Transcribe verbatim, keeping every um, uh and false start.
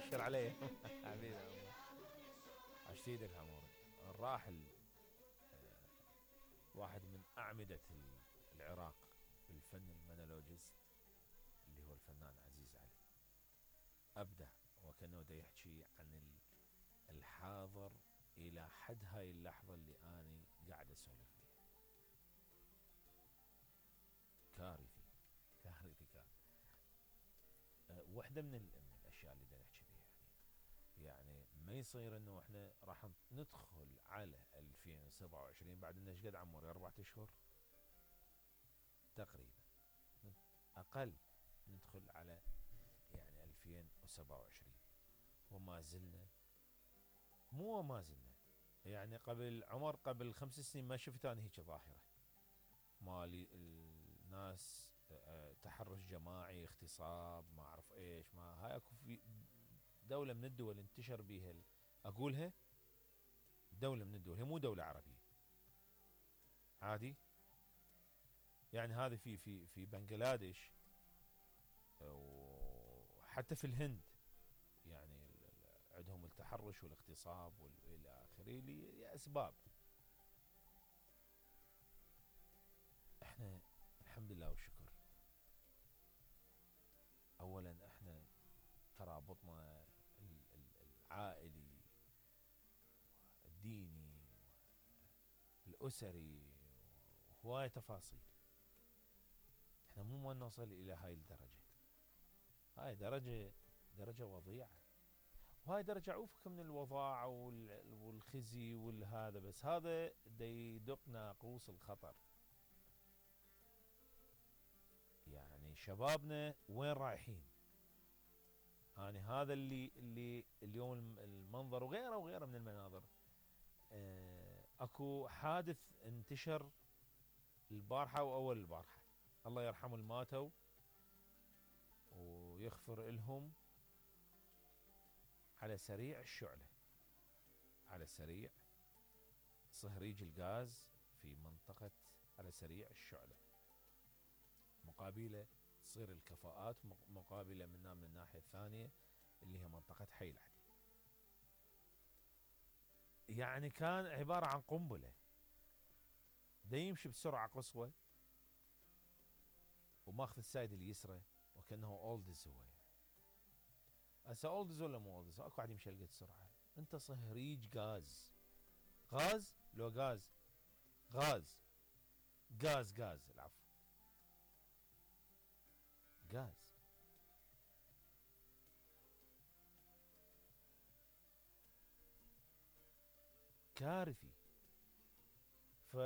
ابشر عليه. حبيبي عمور، عشت ايدك عمور. الراحل آه، واحد من اعمدة العراق بالفن المونولوجيست اللي هو الفنان عزيز علي. ابدع وكانه دا يحكي عن الحاضر الى حد هاي اللحظة اللي اني قاعد اسولف بيها. كارثي كارثي كارثي. أه واحدة من, من الاشياء اللي دا نحكي بيها يعني يعني ما يصير انه احنا راح ندخل على ألفين وسبعة وعشرين بعد انه ايش قد عمري اربعة اشهر تقريبا، اقل، ندخل على يعني ألفين وسبعة وعشرين وما زلنا، مو ما زلنا يعني قبل عمر قبل خمس سنين ما شفت انا هيك ظاهرة مالي الناس تحرش جماعي اغتصاب ما اعرف ايش. ما هاي اكو في دولة من الدول انتشر بيها اقولها دولة من الدول، هي مو دولة عربية عادي يعني. هذه في في في بنغلاديش وحتى في الهند يعني عندهم التحرش والاغتصاب والى اخره لاسباب. احنا الحمد لله والشكر، اولا احنا ترابطنا العائلي الديني الاسري وهواية تفاصيل، احنا مو ما نوصل الى هاي الدرجة. هاي درجة درجة وضيعة، وهاي درجة عوفك من الوضاعة والخزي والهذا، بس هذا دا يدق ناقوس الخطر. يعني شبابنا وين رايحين؟ يعني هذا اللي اللي اليوم المنظر وغيره وغيره من المناظر. اه اكو حادث انتشر البارحة واول البارحة، الله يرحم الماتوا ويغفر لهم، على سريع الشعلة، على سريع صهريج الغاز في منطقة على سريع الشعلة، مقابلة تصير الكفاءات مقابلة منا من الناحية الثانية اللي هي منطقة حي العدي. يعني كان عبارة عن قنبلة، دا يمشي بسرعة قصوى وماخذ السايد اليسرى وكأنه اولدز. هو هسه اولدز ولا مو اولدز؟ اكو واحد يمشي هالقد سرعة. انت صهريج غاز، غاز لو غاز غاز غاز غاز العفو غاز. كارثي. ف